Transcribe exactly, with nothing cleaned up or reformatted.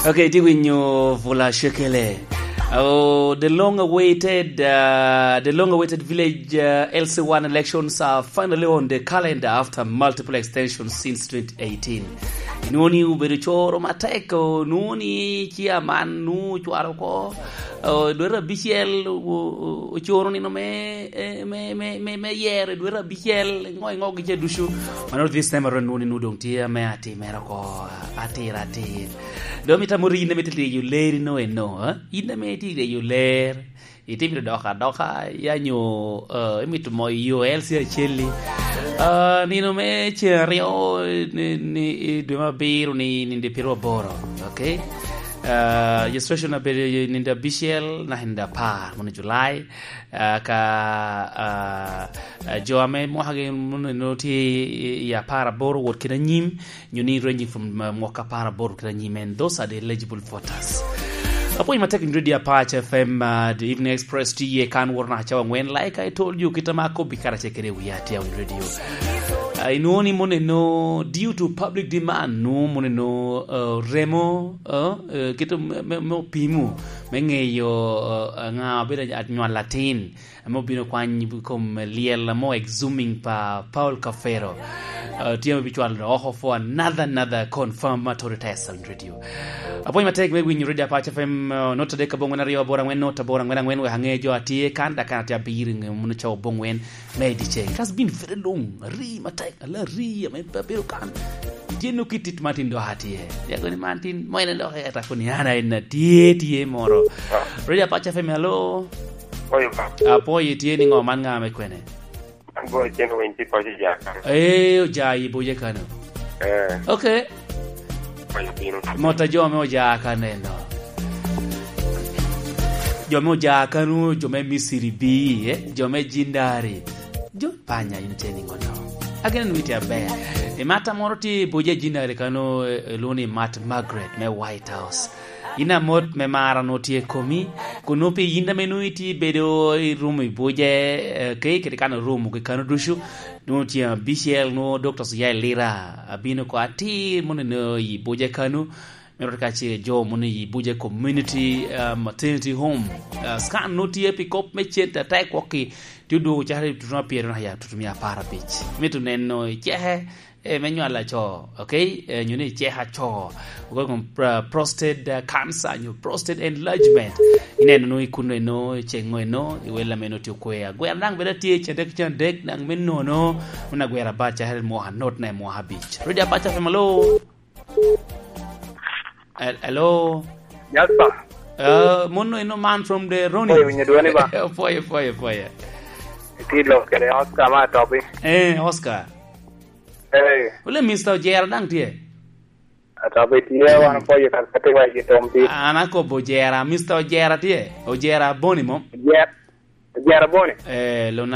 Okay, itye winyo Vula Shekele. Oh, the long-awaited, uh, the long-awaited village, uh, L C one elections are finally on the calendar after multiple extensions since twenty eighteen. Inwoni obedo coro matek, onwoni chairman nu cwalo ko, oh, dwete abicel, o-, o-, ocoro nino me, eh, me, me, me, me yero dwete abicel, ngo, ngo gica ducu. Mano this time around nwoni nu dong tye ame atimere oko, atira atir. Dong mito amot in ame itye ryeyo leri no eno, eh? In ame itye ryeyo ler, itye mito dok adoka, ya nyo, eh, imito moyo yo L C acel-li. Ah, nino me ceng aryo, ni, ni, i dwe me abiro ni, ninde piero aboro, okay? Ah, registration abedo i ninde abicel, na ninde apar, mono July. Ah, ka, ah, ah, jo ame mwakagi mono tye i, i apar aboro wot kede anyim, nyo ni ranging from, uh, mwaka apar aboro kede anyim, and those are the eligible voters. Apwony matek in Radio Apac F M, uh, the Evening Express tye iye kan woro naka cawa angwen, like I told you, kit ama akobbi karacel kede wi atia win radio. Uh, inwoni mono eno, due to public demand, nu mono eno, uh, remo, uh, uh, kit me, me, me opimo, me ngeyo, uh, anga obedo anywal latin. Ame obino kwany i kom lyel ame exhuming pa Paul Kafero. Uh, tye ame bicwalo oko for another, another confirmatory test on radio. Apwony matek me winyo Radio Apac F M, uh, not adek abongwen aryo aboro angwen not aboro angwen angwen, wek ange jo atye kan, dak kan atye abiro i nge mono cawa abongwen me i dyeceng. It has been very long. Ari matek, ala ari ame pe abedo kan. Tye no kit tit ma tin dok atye. Yago ni man tin, mo en dok eta koni an ayen atye, tye moro. Radio Apac F M, hello. Oyo, ka. Apwoyo, itye ni ngo man nga me kwene? An bo icen winy ti poco ja kan. Eh, oja i boje kano. Eh. Okay. Poco pino. Mota jo me oja kano eno. Jo me oja kano, jo me Misiri bi, eh? Jo me Jindari. Jo panya in itye ni ngo no? Agene ni itye aber. I mata moro tye i boje Jindari kano, eh, elwongo ni Mat Margaret me White House. In amot me mara nwo tye i komi, kun nwo pi yin ame nwo itye bedo i rumo i buje, eh, ke kede kan orumo ki kano ducu, nwo tye abicel, nwo Doctor Suya Elira abino ko atir mono eno i buje kano, me rot ka ce jo mono i buje community, eh, maternity home. Eh, scan nwo tye pi kop me cente atek wokki, tye odwogo cakere i tutu ma pyero naka ya tutu mia apar abic. Mito neno i ceke, eh, me nywalo aco, okay? Eh, nyo ni cek aco. Ogo kom, uh, prostate, uh, cancer, nyo prostate enlargement. Ineno no i kuno eno, i ceŋŋo eno, i wel ame noti okwe. Agwera daŋ bedo atye i candek, candek, daŋ me nono, mano agwera abaca, hel mwaka, not na i mwaka abic. Radio Apac F M, hello? Hel-, hello? Yes, sir. Uh, mono eno man from the Ronnie. Oyo, winyo dwoni ba? Opoyo, opoyo, opoyo. Itye lok kede Oscar ma atobi. Eh, Oscar. Hey. Wule Mister Ojera daŋ tye? Ata be tye, wan opoyo kan kati wa i tom pi. An akobo Ojera, Mister Ojera tye? Ojera Boni mom? Ojera, Ojera Boni? Eh, lo